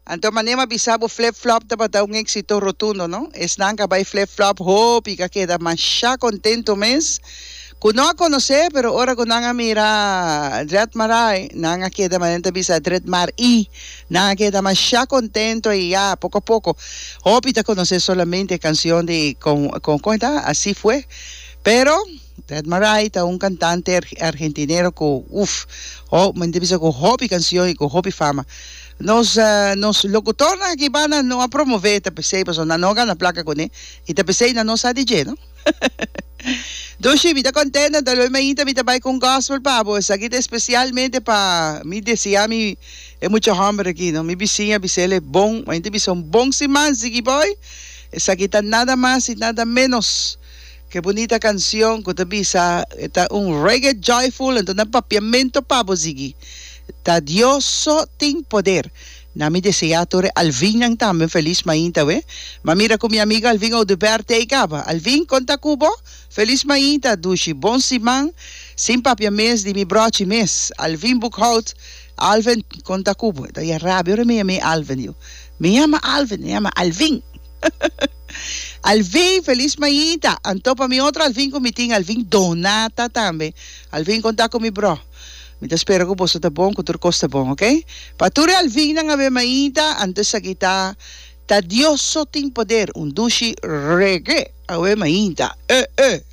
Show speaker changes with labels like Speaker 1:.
Speaker 1: Anto manera mi a bisa bo Flip Flop tabata un éxito rotundo no. Esnan ku a bai Flip Flop hopi ku a keda masha kontento mes ku no a konosé pero ora ku nan a mira Dred Marai nan a keda manera nan ta bisa Dred Mar i nan a keda masha kontento i ya poko a poko hopi ta konosé solamente e kansion di kon kon kon e ta Así Fue pero Dred Marai ta un kantante argentinero ku uf ho mi ta bisa ku hopi kansion i ku hopi fama. Nos nos locutornan aki banda no a promove ta pesey pasobra nan no a gana placa cune y ta pesey nan no sa di dje no. Dushi mi ta contento anto lo mainta mi ta bay cu un gospel pa bo esaki ta especialmente pa mi desea mi e mucha homber aki no mi bisiña bisele bon mainta bisa un bon siman sigui boy esaki ta nada mas y nada menos Ke bunita cancion cu ta bisa e ta un reggae joyful enton na papiamento pa bo sigui ta Dios so tin poder na mi desea tur e Alvinnan tambe un feliz mainta we ma mira cu mi amigo Alvin Oduber tey caba Alvin con ta cu bo feliz mainta dushi bon siman sin papia mes di mi brochi mes Alvin Boekhout Alvin con ta cu bo e ta ya rabia ora mi yama Alvin yu mi yama Alvin mi yama Alvin. Alvin, felis mainta. Anto pa mi otro Alvin ku mi tin, Alvin Donata tambe. Alvin konta ku mi bro. Mi ta spera ku boso ta bon, ku tur kos ta bon, ok? Pa tur e Alvinnan awe mainta, anto esaki ta Ta Dios so tin poder, un dushi reggae awe mainta. Eh eh.